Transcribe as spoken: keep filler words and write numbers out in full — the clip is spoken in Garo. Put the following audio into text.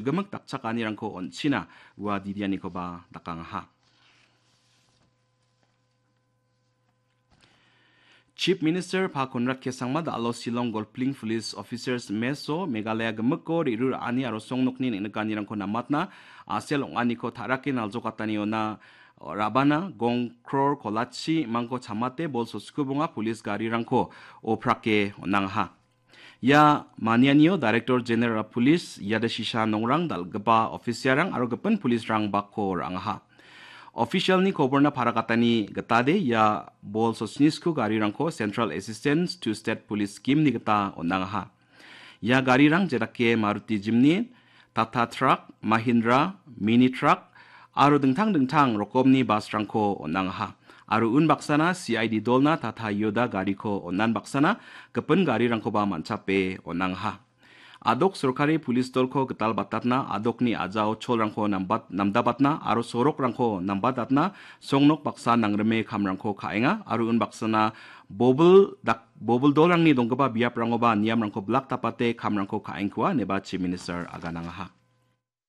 gimik dakchakanirangko on·china ua didianikoba dakangaha. Chief Minister Pa Conrad K Sangma da·alo Shillong Golfling Police Officers Mess-o Meghalaya gimiko re·ruraani aro songnokni neng·nikanirangko namatna a·sel ong·aniko ta·rake naljokataniona rabana gong kror kolachi mangko chamate bol soskubonga police garirangko oprake on·angaha. Ia manianio Director General of Police Yadashisha Nongrang, dal·gipa officialrang aro gipin policerang bakko ra·angaha. Officialni koborna parakatani gitade ia bol sosnisku garirangko Central Assistance to State Police Scheme-ni gita on·angaha. Ia garirang jedake Maruti Jimny, Tata Truck, Mahindra, Mini Truck, aro dingtang dingtang rokomni busrangko on·angaha. Aro unbaksana C I D dolna Tata Yoda gariko on·anbaksana gipin garirangkoba man·chape on·angaha. A·dok sorkari pulis dolko gital batatna, a·dokni a·jao cholrangko nambat-, namdabatna aro sorokrangko nambatatna songnok baksa nangrime kamrangko ka·enga aro unbaksana bobil dak-, bobil dolrangni donggipa biaprangoba niamrangko blak tapate kamrangko ka·engkua, ineba Chief Minister aganangaha.